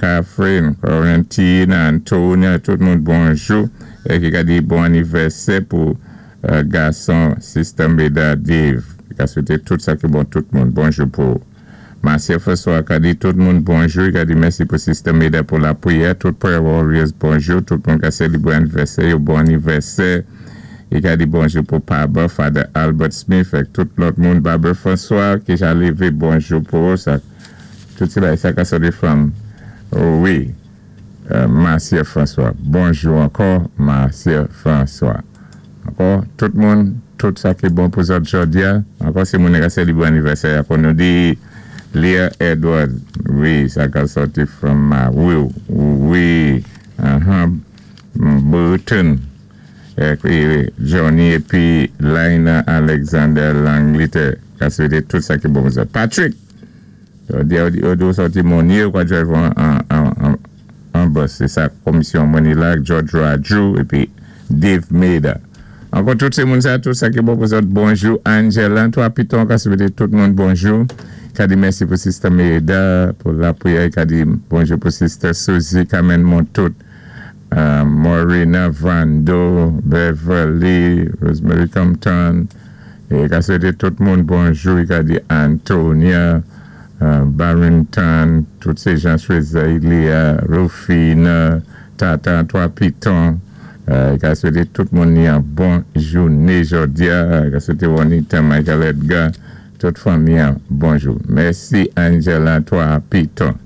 Catherine, Corentina, Antonia, tout moun bonjou. Épi i ka di bon anivèsè pou gason Sister Meda Dave. I ka swété tout sa ki bon tout moun. Bonjou pou Marcia François ka di tout moun bonjou. I ka di mèsi pou Sister Meda pou lapriyè. Tout Prayer Warriors bonjou. Tout moun ka sélébwé anivèsè yo, bon anivèsè. I ka di bonjou pou Papa Father Albert Smith ak tout lòt moun. Barbara François ki ja lévé, bonjou pou sa. Tout sé bagay sa ka sòti from wi Marcia François. Bonjou ankò, Marcia François. Ankò tout moun, tout sa ki bon pou zòt jòdi-a. Ankò si moun ka sélébwé anivèsè ankò nou di Leah Edward, wi, sa ka sòti from Marie, wi, Burton, épi Johnny épi Lina Alexander Langleterre ka swété tout sa ki bon pou zòt. Patrick, yo di ou sòti Monnier, ou ka drive an bus, sé sa komisyon Money-Lag, George Raju, épi Dave Maida. Ankò tout sé moun sa, tout sa ki bon pou zòt, bonjou. Angela, 3 Piton ka swété tout moun bonjou. Ka di mèsi pou Sister Maida, pou lapriyè, ka di bonjou pou Sister Suzy, Carmen Montout, Morena Vando, Beverly, Rosemary Compton, é ka swété tout moun bonjou, ka di Antonia, Barrington, tout sé jan Chwezelia, Rufina, Tata, 3 Piton, ka swété tout moun yon bon jouné jòdi-a, ka swété Juanita, Michael Edgar, tout fanmi bonjou. Mèsi Angela 3 Piton.